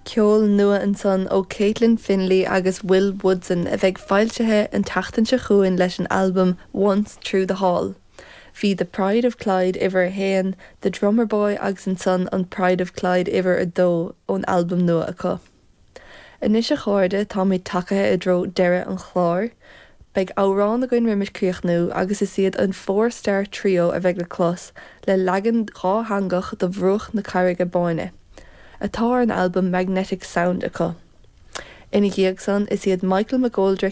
Ceol nua ansan ó Caitlin Finlay agus Will Woodson a bheidh foilsithe an tseachtain seo chugainn leis an albam Once Through the Hall. Bhí The Pride of Clyde uimhir a haon, The Drummer Boy agus ansan an Pride of Clyde uimhir a dó ón albam nua acu. Anois a chairde táimid tagaithe i dtreo deireadh an chláir. Beidh amhrán againn roimis críochnú agus is iad an Four Star Trio a bheidh le clos le leagan dhátheangach de Bhruach na Carraige Báine. atá ar an albam Magnetic Sound acu. Ina dhiaidh san, is iad Michael McGoldrick.